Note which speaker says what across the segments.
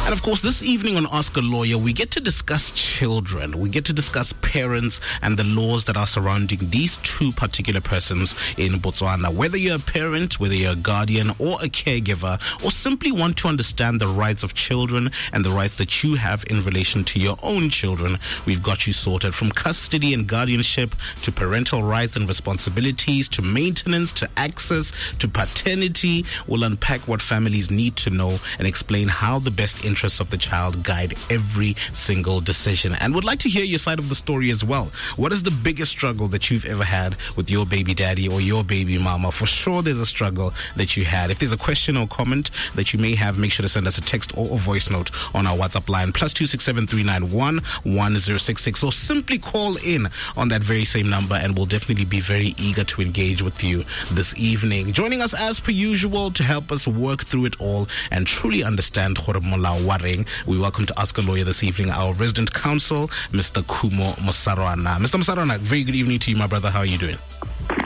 Speaker 1: And of course, this evening on Ask a Lawyer, we get to discuss children. We get to discuss parents and the laws that are surrounding these two particular persons in Botswana. Whether you're a parent, whether you're a guardian or a caregiver, or simply want to understand the rights of children and the rights that you have in relation to your own children, we've got you sorted. From custody and guardianship to parental rights and responsibilities to maintenance to access to paternity, we'll unpack what families need to know and explain how the best interests of the child guide every single decision. And would like to hear your side of the story as well. What is the biggest struggle that you've ever had with your baby daddy or your baby mama? For sure, there's a struggle that you had. If there's a question or comment that you may have, make sure to send us a text or a voice note on our WhatsApp line, +267 391 1066, or simply call in on that very same number, and we'll definitely be very eager to engage with you this evening. Joining us as per usual to help us work through it all and truly understand gore molao wa reng, we welcome to Ask a Lawyer this evening our resident counsel, Mr. Khumo Mosarwana. Mr. Mosarwana, very good evening to you, my brother. How are you doing?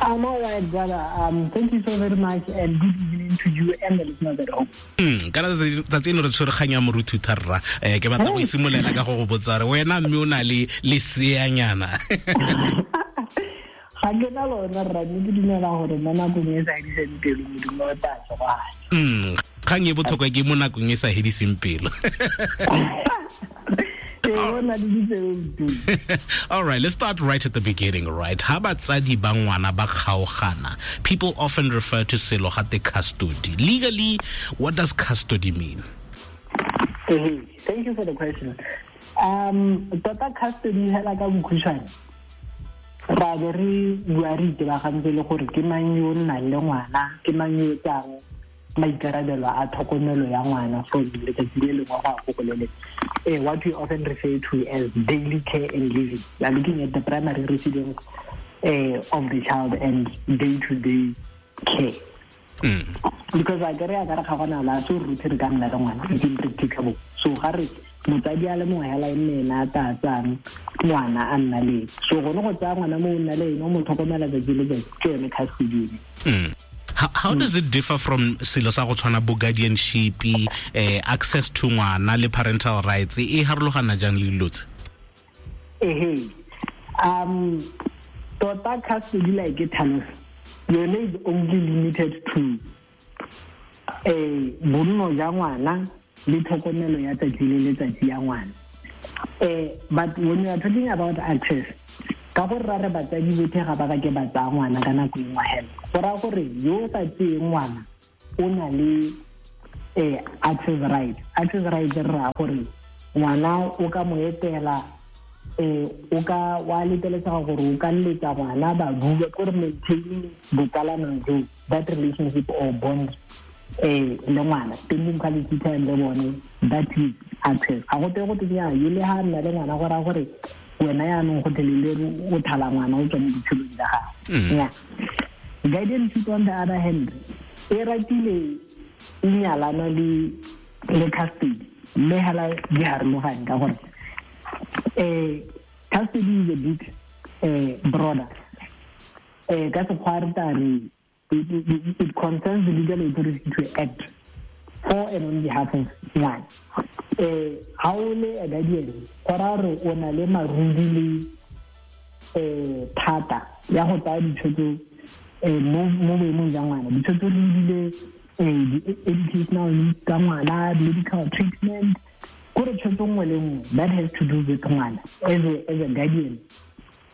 Speaker 2: I'm all right, brother. Thank you so very much, and good evening to you and the listeners at home.
Speaker 1: Kana tsatsi eno re tshwere kgang ya moruthutha rra. Ke batla go simolola ka go go botsa re wena mme o na le leseanyana.
Speaker 2: Ga ke na lona rra, mme ke dumela gore mo nakong e sa hediseng pelo Modimo o tla tsoga.
Speaker 1: Kgang e botlhokwa ke mo nakong e sa hediseng pelo. All right, let's start right at the beginning, right? Ha batsadi ba ngwana ba kgaogana, people often refer to selo gate custody. Legally, what does custody mean?
Speaker 2: Hey, thank you for the question. Tota custody hela ka bokhutshwane, ra be re bua re itebagantse le gore ke mang yo o nnang le ngwana, ke mang yo o tsayang maikarabelo a tlhokomelo ya ngwana from letsatsi le lengwe go ya go go le lengwe. What we often refer to as daily care and living. We are looking at the primary residence of the child and day-to-day care. Because I get a ga gona la so ruthe re ka nna le ngwana, it's impracticable. So ga re motsadi a le mongwe hela e nne ena a tla tsayang ngwana a nna le ene. So gone go tsaya ngwana mo o nna le ene, o mo tlhokomela tsatsi le letsatsi, ke yone custody ene.
Speaker 1: How does it differ from selo sa go tshwana bo guardianship, access to ngwana le parental rights? E harologana jang le dilo tse?
Speaker 2: Ehe. Tota custody like e tlhalosa, yone is only limited to bonno ja ngwana le tlhokomelo ya tsatsi le letsatsi ya ngwana. But when you are talking about access, ka gore ra re batsadi botlhe ga ba ka ke ba tsaya ngwana ka nako e nngwe hela, go raya gore yo o sa tseyeng ngwana o na le access right. Access right re raya gore ngwana o ka mo etela, o ka wa leteletsega gore o ka letsa ngwana ba bua, ke gore maintaining botsalano jo, that relationship or bond le ngwana, spending quality time le bone, that is access. Ga go twe go twe nnyaa, yo le ha nna le ngwana go raya gore wena yaanong go tlelele o thala ngwana o tswa mo botshelong jwa gago. Yeah. Guardianship on the other hand, e ratile e nyalana le custody, mme hela di harologane ka gore custody is a bit broader. Ka sekgwa re tla re it concerns the legal authority to act for and on behalf of ngwana. Ha o le a guardian, go raya gore o na le marudi le thata ya go tsaya ditshwetso mo boemong jwa ngwana. Ditshwetso di ebile di-educational needs tsa ngwana, medical treatment, kore tshwetso nngwe le nngwe that has to do with ngwana. As a guardian,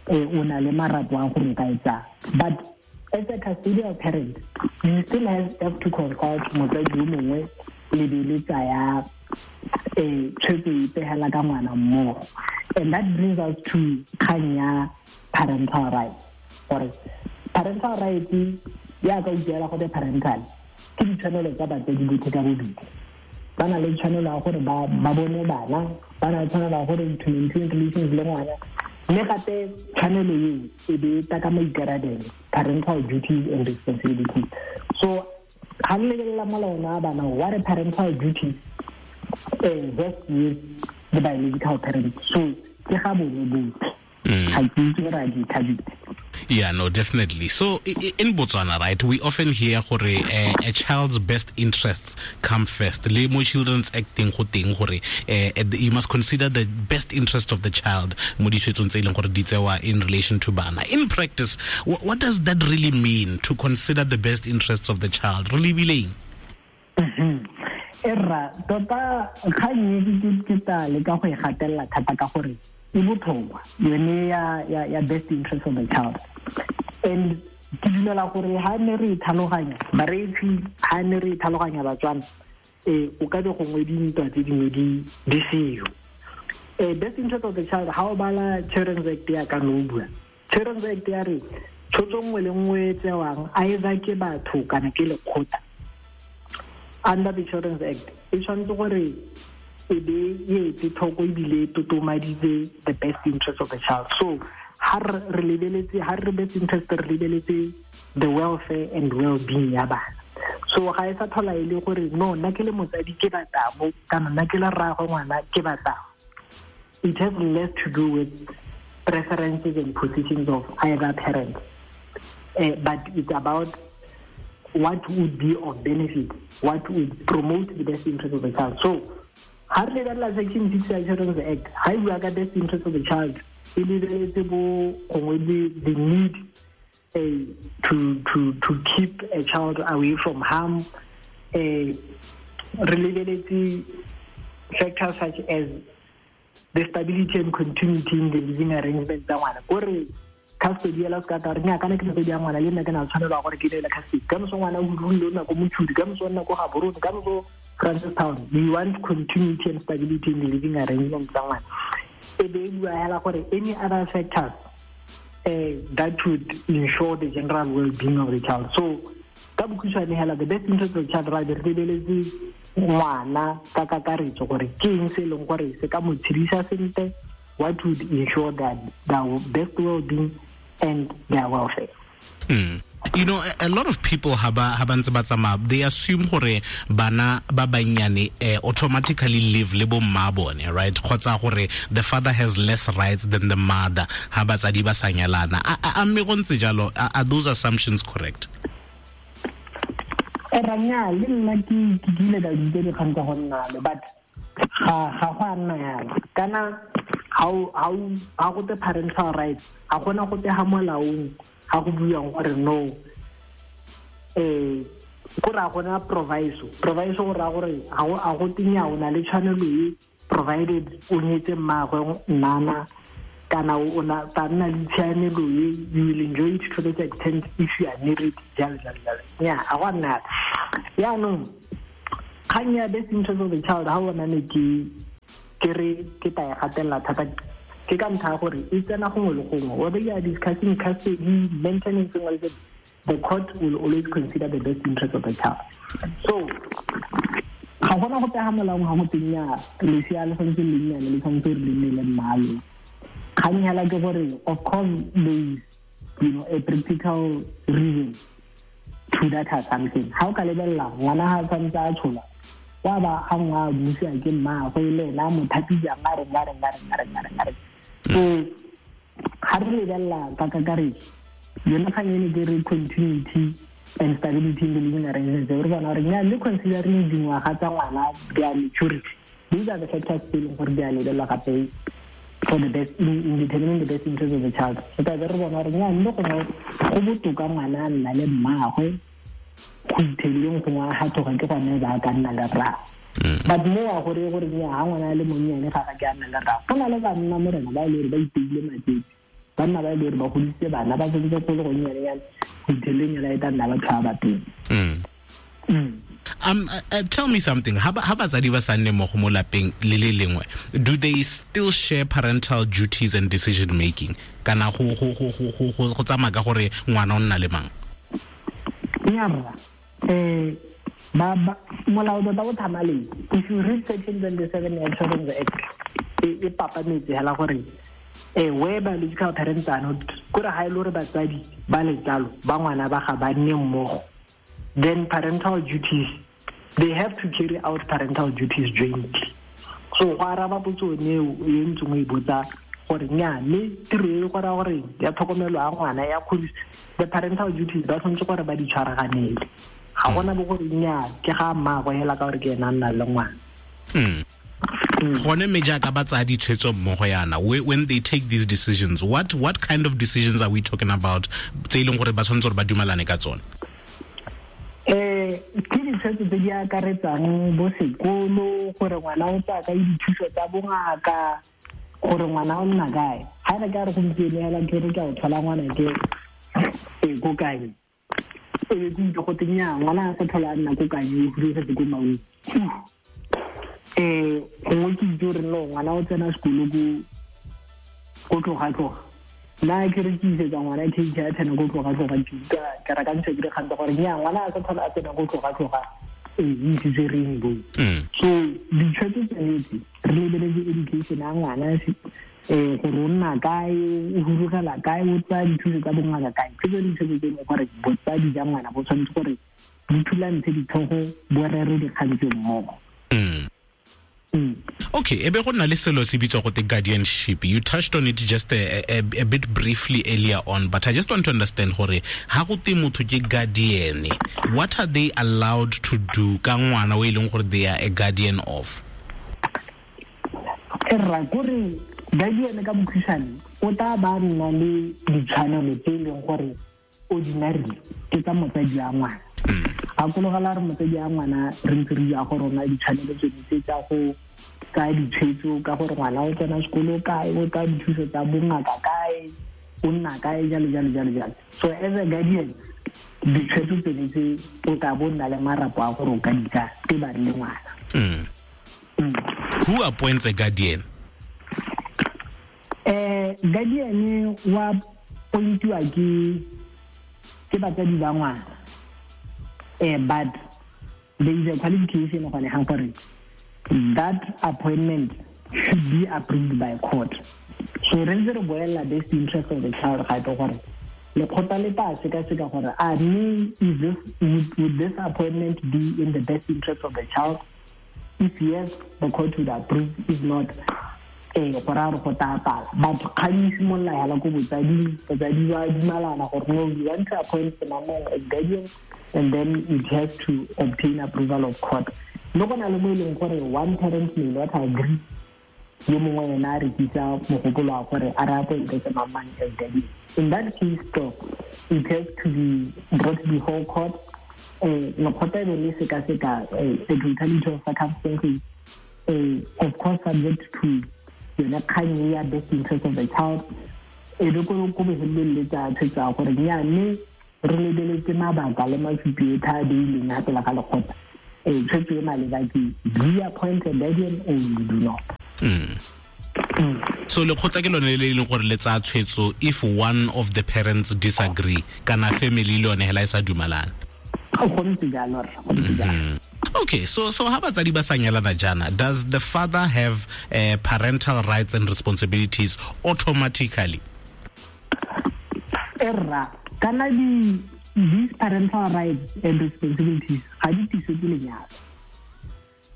Speaker 2: o na le marapo a gore o ka e tsaya. But as a custodial parent, you still have to consult motsadi yo mongwe le be le tsaya tshwetso epe hela ka ngwana mmogo. And that brings us to kgang ya parental rights. Gore parental rights ya ka utlwela gote parental ke ditshwanelo tsa batsadi botlhe ka bobedi. Ba na le tshwanelo ya gore ba bone bana, ba na le tshwanelo ya gore to maintain relations le ngwana, mme gape tshwanelo eo e be e tla ka maikarabelo, parental duties and responsibilities. So ga re lebelela molao wa bana wa re parental duties rest with the biological parents, so ke ga bone botlhe. Ga ke itse gore a di thabile.
Speaker 1: Yeah, no, definitely. So in Botswana, right, we often hear gore a child's best interests come first. Le mo Children's Act teng go teng gore you must consider the best interest of the child mo ditshwetsong tse e leng gore di tsewa in relation to bana. In practice, what does that really mean, to consider the best interests of the child? Re lebileng?
Speaker 2: Erra, tota kgang e ke tla leka go e gatelela thata ka gore e botlhokwa, yone ya best interest of the child. And ke dumela gore ha ne re e tlhaloganya bareetsi, ha ne re e tlhaloganya Batswana, o ka be gongwe dintwa tse dingwe di seo. Best interest of the child, ha o bala Children's Act ya ka no bua, Children's Act ya re tshwetso nngwe le nngwe e tsewang either ke batho kana ke lekgotla under the Children's Act e tshwanetse gore e be e etse tlhoko ebile e totomaditse the best interest of the child. So ha re lebeletse, ha re best interest, re lebeletse the welfare and well-being ya bana. So ga e sa tlhola e le gore no, nna ke le motsadi ke batla mo, kana nna ke le rraagwe ngwana ke batla. It has less to do with preferences and positions of either parent, but it's about what would be of benefit, what would promote the best interest of the child. So ha re lebelela section 6 ya Children's Act, ha e bua ka best interest of the child, e lebeletse bo gongwe the need to keep a child away from harm. Re lebeletse factors such as the stability and continuity in the living arrangement tsa ngwana. Kore custody ela se ka tla re nya kana ke motsadi ya ngwana le nna ke na tshwanelwa gore ke neele custody. Ka moso ngwana o rulile o nna ko Mochudi, ka moso o nna ko Gaborone, ka moso Francistown. We want continuity and stability in the living arrangement tsa ngwana. E be e bua hela gore any other factors that would ensure the general well-being of the child. So ka bokhutshwane hela, the best interest of the child, ra be re lebeletse ngwana ka kakaretso gore ke eng se e leng gore se ka mo tshedisa sentle, what would ensure that their best well-being and their welfare.
Speaker 1: You know, a lot of people ha ba ntse ba tsamaya, they assume gore bana ba bannyane automatically live le bo mma bone, right? Kgotsa gore the father has less rights than the mother ha batsadi ba sa nyalana. A mme go ntse jalo, are those assumptions correct?
Speaker 2: Ranya, le nna ke kile ka utlwa dikgang tsa go nna le, but ga go a nna yalo. Kana ha go te parental rights, ga gona go te ha molaong ga go buiwang gore no, ko ra gona proviso. Proviso go raya gore ga go tenya o na le tshwanelo e, provided o nyetse mmaagwe nnana, kana o na tla nna le tshiamelo e, you will enjoy it to the extent if you are married, jalo jalo jalo. Nya, ga go a nna yalo. Jaanong kgang ya best interest of the child, ha o bona ne ke re ke tla e gatelela thata, ke ka ntlha ya gore e tsena gongwe le gongwe. Whether you are discussing custody, maintenance, the court will always consider the best interest of the child. So ga gona go pega molaong ga go teng ya lesea le tshwanetse le nnyane le tshwanetse re le nne le mmalo. Kgang hela ke gore of course there is, you know, a practical reason to that assumption. Ha o ka lebelela ngwana ha tshwanetse a tshola, wa ba a nngwe a busiwa ke mmaagwe le ena a mo thapisa a reng, a reng, a reng, a reng, a reng, a reng. So ga re lebelela ka kakaretso, yone kgang ene ke re continuity and stability in the living arrangements. Re bona gore nya le considering dingwaga tsa ngwana, their maturity, these are the factors tse e leng gore di a lebelelwa gape for the best in determining the best interest of the child. So ka re bona gore nya mme gongwe go botoka ngwana a nna le mmaagwe go itheleng gongwe a gatoga ke gone ba ka nna le rraagwe. But mo wa gore gore nya ha ngwana a le monnyane ga ga ke a nna le rraagwe. Go na le banna morena ba e le gore ba iteile matsetse, banna ba e le gore ba godisitse bana ba sentse go le gonnyane yana go itheleng yona e tla nna batho ba ba teng.
Speaker 1: Tell me something. Ha batsadi ba sa nne mmogo mo lapeng le le lengwe, do they still share parental duties and decision making? Kana go tsamaya ka gore ngwana o nna le mang?
Speaker 2: Nnyaa, molao tota o thamaletse. If you read section 27 ya Children's Act, e papametse hela gore where biological parents are not, kore ha e le gore batsadi ba letsalo ba ngwana ba ga ba nne mmogo, then parental duties, they have to carry out parental duties jointly. So go araba potso eo e ntseng o e botsa, Gore nya le tiro e go ra gore ya tlhokomelo ya ngwana ya kgodiso, the parental duties ba tshwanetse gore ba di tshwaraganele. Ga gona bo gore nya ke ga mmaagwe hela ka gore ke ena a nna le ngwana.
Speaker 1: Gone mme jaaka ba tsaya ditshwetso mmogo yana, when they take these decisions, what kind of decisions are we talking about tse e leng gore ba tshwanetse gore ba dumalane ka tsone?
Speaker 2: Ke ditshwetso tse di akaretsang bo sekolo, gore ngwana o tsaya kae dithuso tsa bongaka, gore ngwana o nna kae. Ga re ka re gompieno hela ke re ke a o thola ngwana ke ko kae, e be ke utlwe gote nnyaa, ngwana a sa tlhola a nna ko kae, o hudugetse ko Maun. Gongwe ke itse gore no, ngwana o tsena sekolo ko tloga-tloga. Nna ke re ke isetsa ngwana K G a tsena ko tloga-tloga, ke utlwa ke rakantsha ke dikgang tsa gore nnyaa, ngwana a sa tlhola a tsena ko tloga-tloga, e isitse Rainbow. So ditshwetso tsone tse re lebeletse education ya ngwana, gore o nna kae, o hudugela kae, o tsaya dithuso tsa bongaka kae. Ke tsone ditshwetso tse e leng gore botsadi jwa ngwana bo tshwanetse gore di thulantshe ditlhogo, bo rere dikgang tse mmogo.
Speaker 1: Okay, ebe go na le selo se bitswa gote guardianship. You touched on it just a bit briefly earlier on, but I just want to understand gore ha go te motho ke guardian, what are they allowed to do ka ngwana o e leng gore they are a guardian of?
Speaker 2: Rra, kore guardian ka bokhutshwane o tla ba nna le ditshwanelo tse e leng gore ordinarily ke tsa motsadi wa ngwana. Gakologela re motsadi wa ngwana re ntse re bua gore o na le ditshwanelo tsone tse tsa go tsaya ditshwetso ka gore ngwana o tsena sekolo kae, o tsaya dithuso tsa bongaka kae, o nna kae, jalo, jalo, jalo, jalo. So as a guardian, ditshwetso tsone tse o tla bo nna le marapo a gore o ka di tsaya tse ba le ngwana.
Speaker 1: Who appoints a guardian?
Speaker 2: Guardian wa appointiwa ke batsadi ba ngwana. But there is a qualification gone ga gore that appointment should be approved by court. So re ntse re boela best interest of the child gape gore lekgotla le tla sekaseka gore a mme would this appointment be in the best interest of the child? If yes, the court would approve. If not, go raya gore go tla pala. But kgang e simolola hela ko botsading, batsadi ba dumalana gore no, we want to appoint Semamong as guardian, and then it has to obtain approval of court. Le go na le mo e leng gore one parent may not agree, yo mongwe ena a rekisa mogopolo wa gore a re appointe Semamong as guardian. In that case, though, it has to be brought before court. Lekgotla e be le sekaseka, the totality of circumstances, of course subject to yone kgang e ya best interest of the child. E be ko bofelelong le tsa tshwetso ya gore nnyaa, mme re lebeletse mabaka le masupi otlhe a beilweng ga pele ga lekgotla. Tshwetso e maleba ke do you appoint a guardian or you do not?
Speaker 1: So lekgotla ke lone le e leng gore le tsaya tshwetso if one of the parents disagree, kana family le yone hela e sa dumalane.
Speaker 2: Go ntse jalo, rra, go ntse jalo.
Speaker 1: Okay, so ha batsadi ba sa nyalana jaana, does the father have parental rights and responsibilities automatically?
Speaker 2: Erra, kana these parental rights and responsibilities ga di tliswe ke lenyalo,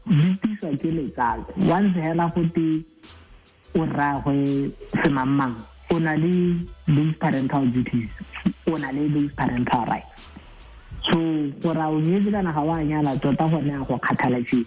Speaker 2: di tliswa ke letsalo. Once hela go te o rraagwe semangmang, o na le those parental duties, o na le those parental rights. So gore a o nyetse kana ga o a nyala, tota gone a go kgathalesega.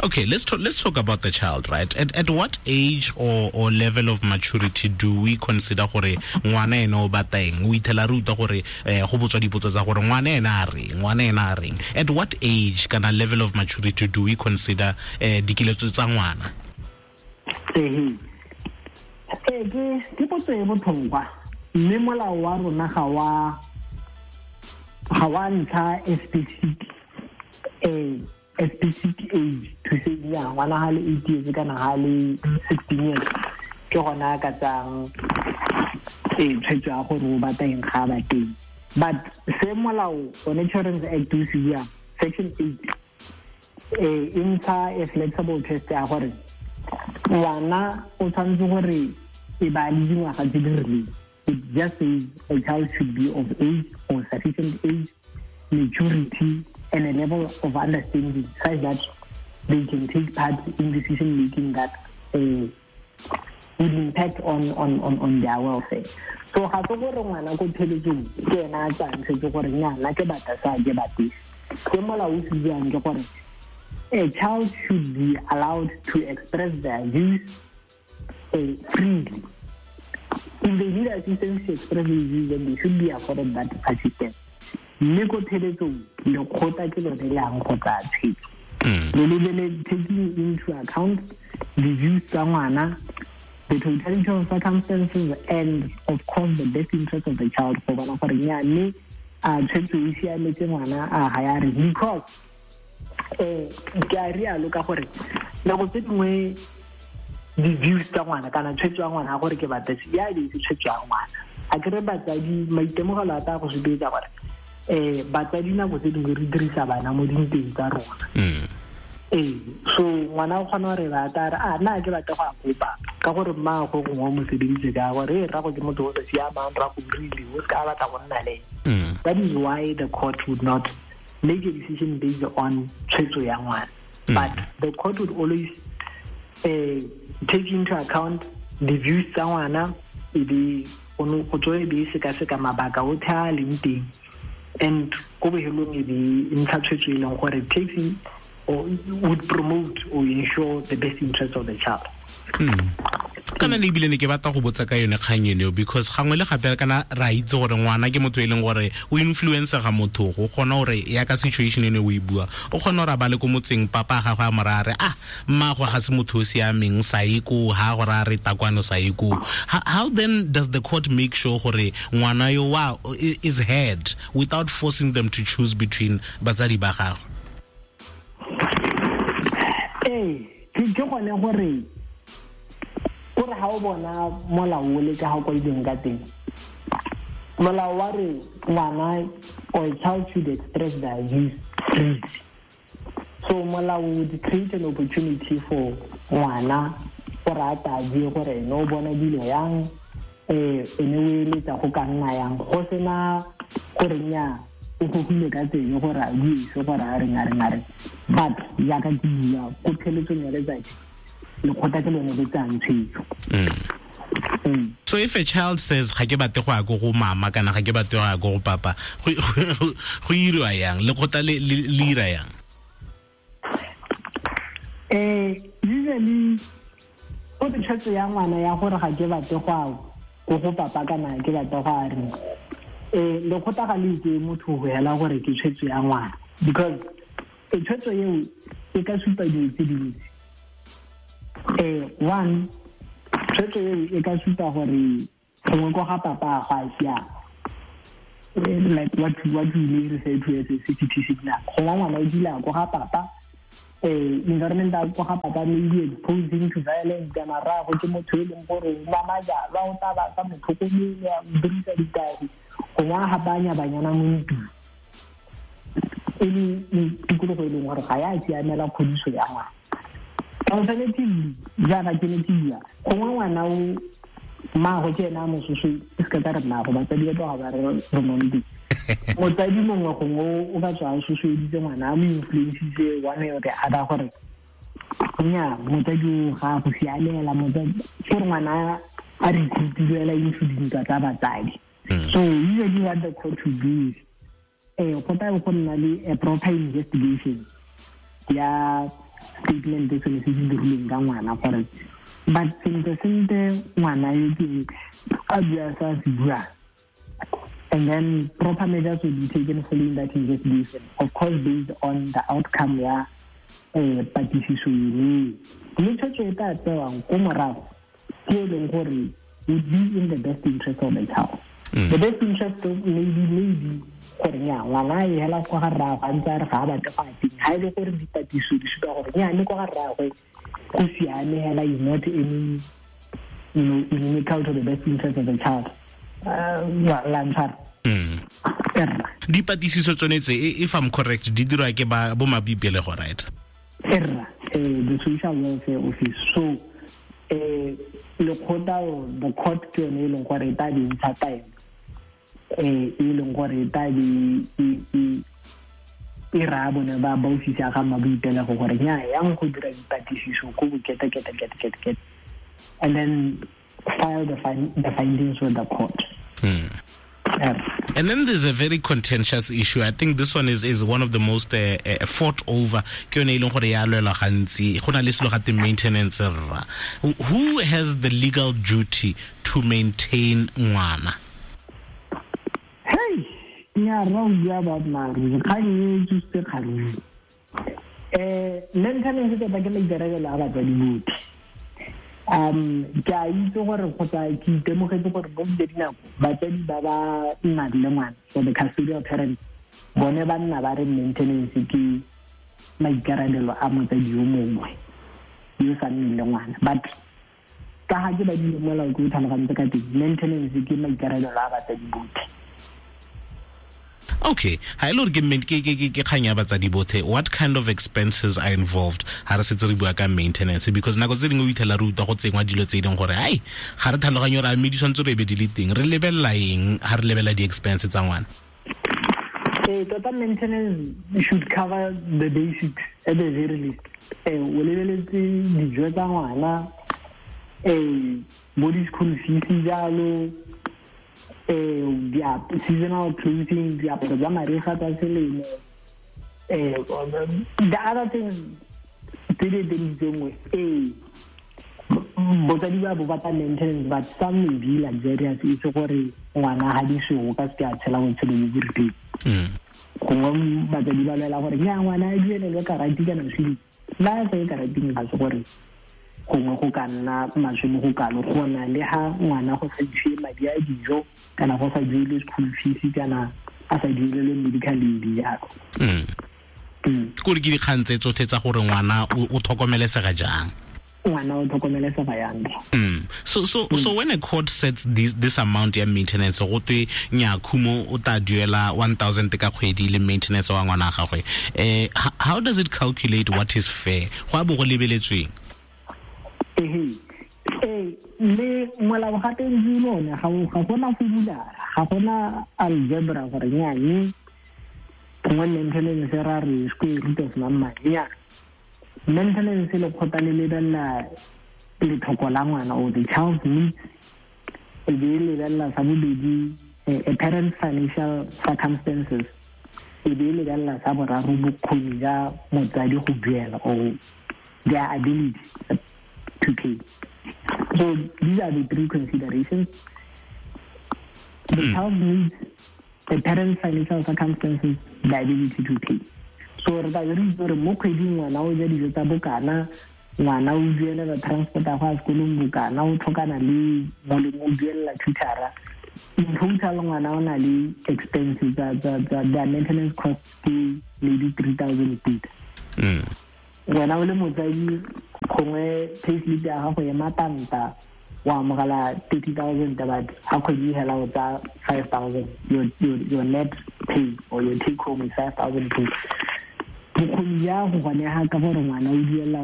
Speaker 1: Okay, let's talk about the child, right? At what age or level of maturity do we consider gore ngwana ene o batla eng? O ithela re utlwa gore go botswa dipotso tsa gore ngwana ene a reng, ngwana ene a reng. At what age kana level of maturity do we consider dikeletso tsa ngwana?
Speaker 2: Ke potso e botlhokwa, mme molao wa rona ga wa ntsha a specific age to say yeah, ngwana ha le 8 years kana ha le 16 years ke gona a ka tsayang, tshwetso ya gore o batla eng ga a batle. But se molao one Children's Act o se buang, section 8, e ntsha a flexible test ya gore ngwana o tshwanetse gore e ba le dingwaga tse di rileng. It just says a child should be of age or sufficient age, maturity, and a level of understanding such that they can take part in decision making that would impact on their welfare. So ga se gore ngwana ko pheletsong ke ena a tsayang tshwetso gore nnyana ke batla sa ke batle. Se molao o se buang ke gore a child should be allowed to express their views freely. If they need assistance to express their views, then they should be afforded that assistance. Mme ko pheletsong lekgotla ke lone le yang go tsaya tshwetso. Le lebele taking into account the views tsa ngwana, the totality of circumstances, and of course the best interest of the child. Go bona gore nya mme a tshwetso e siametse ngwana a ga ya re, because ke a rialo ka gore nako tse dingwe di-views tsa ngwana kana tshwetso ya ngwana gore ke batla se ya be se tshwetso ya ngwana. A kere batsadi maitemogelo a tla go supetsa gore batsadi nako tse dingwe re dirisa bana mo dinteng tsa rona. So ngwana o kgona gore ba tla re a nna ke batla go a kopa ka gore mmaagwe gongwe o mo sebeditse ka gore rrago ke motho o sa siamang, rrago o rile o se ka batla go nna le ene. That is why the court would not make a decision based on tshwetso ya ngwana. But the court would always take into account the views tsa ngwana, e be go tswa e be sekaseka mabaka otlhe a leng teng, and ko bohelong e be ntsha tshwetso e leng gore takes in or would promote or ensure the best interest of the child.
Speaker 1: Kana le ebile ne ke batla go botsa ka yone kgang eno, because gangwe le gape kana ra itse gore ngwana ke motho e leng gore o influence ga motho go kgona gore ya ka situation ene o e bua, o kgona gore a bale ko motseng papa gagwe a mo raya re ah mmaagwe ga se motho o siameng sa ye ko ha gore a re takwano sa ye ko. How then does the court make sure gore ngwana yo wa is heard without forcing them to choose between batsadi ba gagwe?
Speaker 2: Ke gone gore gore ha o bona molao o le ka ha kwa ileng ka teng, molao wa re ngwana or child should express their views freely. So molao would create an opportunity for ngwana gore a tla bue gore ene o bona dilo yang, ene o eletsa go ka nna yang, go sena gore nya o gogile ka tsebe gore a bue se gore a reng a reng a reng. But jaaka ke bua ko pheletsong ya letsatsi lekgotla ke lone le tsayang tshwetso.
Speaker 1: So if a child says ga ke batle go ya ko go mama kana ga ke batle go ya ko go papa, go iriwa yang? Lekgotla le ira yang?
Speaker 2: Usually go tshwetso ya ngwana ya gore ga ke batle go ya ko go papa kana ke batle go a reng, lekgotla ga le itse motho go hela gore ke tshwetso ya ngwana, because tshwetso eo e ka supa dilo tse dintsi. One, tshwetso eo e ka supa gore gongwe ko ga papa ga a siama, like what we may refer to as a CPT signal. Gongwe ngwana o dula ko ga papa, environment ya ko ga papa may be exposing to violence, kana rraagwe ke motho e leng gore o nwa majalwa, o tla ba sa mo tlhokomele, o dirisa ditagi, gongwe a gapanya banyana mo ntlong, e le tikologo e leng gore ga ya siamela kgodiso ya ngwana. Alternatively, jaaka ke ne ke bua, gongwe ngwana o mmaagwe ke ena a mo soso, e se ka re mmaagwe, batsadi ba tloga ba re re mo ntlong. Motsadi mongwe gongwe o ka tswa a sosoeditse ngwana, a mo influencitse one way or the other gore nya motsadi o ga go siamela, motsadi gore ngwana a recruitilwe fela into dintwa tsa batsadi. So usually what the court will do is go tla go nna le a proper investigation ya statement se se dirilweng ka ngwana gore but sentle sentle ngwana yo ke a bua sa se buang, and then proper measures will be taken following that investigation, of course based on the outcome ya patlisiso ene. Mme tshwetso e tla tsewang ko morago ke e leng gore would be in the best interest of the child. The best interest maybe gore nya ngwana e hela kwa ga rraagwe a ntse a re ga a batle go a teng, ga e le gore dipatlisiso di supa gore nya le kwa ga rraagwe go siame hela, is not any, you know, inimical to the best interest of the child. La ntshwara.
Speaker 1: Dipatlisiso tsone tse, if I'm correct, di dirwa ke ba bo mabibelego, right?
Speaker 2: Erra, the social welfare office. So lekgotla, the court ke yone e leng gore e tla di ntsha taelo, e leng gore e tla di e raya bone ba ofisi ya ga mmaboipelego gore nya yang go dira dipatlisiso ko bokete kete kete kete kete. And then file the findings with the court.
Speaker 1: And then there's a very contentious issue. I think this one is one of the most fought over. Ke yone e leng gore ya lwelwa gantsi. Go na le selo gate maintenance rra. Who has the legal duty to maintain ngwana?
Speaker 2: Hey, nya ra o bua boammaaruri, kgang e tsositse kgang. Maintenance tota ke maikarabelo a batswadi botlhe. Ke a itse gore kgotsa ke itemogetse gore mo tse dinako batsadi ba ba nnang le ngwana, so the custodial parents, bone ba nna ba re maintenance ke maikarabelo a motsadi yo mongwe yo sa nneng le ngwana. But ka ga ke badile molao, ke o tlhalogantse ka teng, maintenance ke maikarabelo a batsadi botlhe.
Speaker 1: Okay, ha ile gore ke kgang ya batsadi botlhe, what kind of expenses are involved ha re setse re bua ka maintenance? Because nako tse dingwe o itlhela re utlwa go tsengwa dilo tse e leng gore ai ga re tlhaloganye gore a mme di tshwanetse re be di le teng. Re lebelela eng ha re lebelela di-expense tsa ngwana?
Speaker 2: Ee, tota maintenance should cover the basics at the very least. O lebeletse dijo tsa ngwana, bo di-school fees jalo, seasonal clothing, diaparo tsa mariga tsa selemo, the other things tse di eteletsengwe. Ee, botsadi ba bo batla maintenance, but some may be luxurious, e se gore ngwana ga di sego ka seke a tshela botshelo bo bo rileng. Gongwe batsadi ba lwela gore nya ngwana a duelelwe karate kana swimming, la sa ye karateng, ga se gore gongwe go ka nna maswe mo go kalo go na le ha ngwana go sa isiwe madi a dijo kana go sa duele school fees kana a sa duelele medical aid jalo.
Speaker 1: Kore ke dikgang tse tsotlhe tsa gore ngwana o tlhokomelesega jang.
Speaker 2: Ngwana o tlhokomelesega jang.
Speaker 1: So when a court sets this amount ya maintenance, go twe nya Khumo o tla duela 1000 ka kgwedi le maintenance wa ngwana gagwe, how does it calculate what is fair? Go a bo go lebeletsweng?
Speaker 2: Ehe, ee, le molao gape ntse lone ga gona formula, ga gona algebra gore nyane gongwe maintenance ra re square root of mang. Nya, maintenance lekgotla le lebelela letlhoko la ngwana or the child's needs, e be e lebelela sa bobedi a parent's financial circumstances, e be e lebelela sa boraro bokgoni ja motsadi go duela or their ability to pay. So these are the three considerations: the child's needs, the parent's financial circumstances, the ability to pay. So re tla be re itse gore mo kgweding ngwana o ja dijo tsa bokana, ngwana o duelela transport ya go ya sekolong bokana, o tlhokana le molemo, o duelela tutora. In total ngwana o na le expenses tsa their maintenance cost ke maybe 3000 pula. Wena o le motsadi, gongwe payslip ya gago e matanta, o amogela 30,000, but ga kgwedi e hela o tsa 5000. Your net pay or your take home is 5000 pay. Bokgoni ja go gonega ka gore ngwana o duela,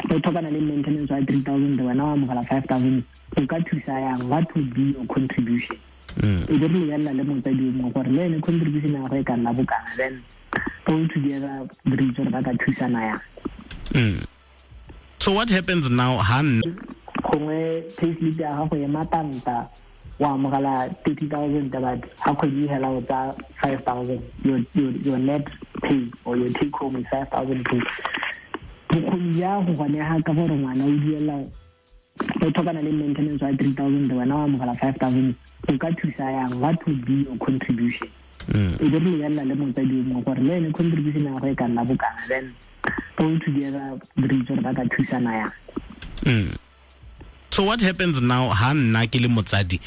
Speaker 2: o tlhokana le maintenance wa 3000, wena o amogela 5000, o ka thusa yang? What would be your contribution? E be re lebelela le motsadi o mongwe gore le ene contribution ya gagwe e ka nna bokana, then all together re itse gore ba ka thusana yang.
Speaker 1: So what happens now ha
Speaker 2: Gongwe payslip ya gago e matanta, o amogela 30,000, but ga kgwedi e hela o tsa 5000. Your net pay or your take home is 5000 pay. Bokgoni ja go gonega ka gore ngwana o duela, o tlhokana le maintenance wa 3000, wena o amogela 5000, o ka thusa yang? What would be your contribution? E be re lebelela le motsadi o mongwe gore le ene contribution ya gagwe e ka nna bokana, then all together re itse gore ba ka thusana yang.
Speaker 1: So what happens now ha nna ke le motsadi?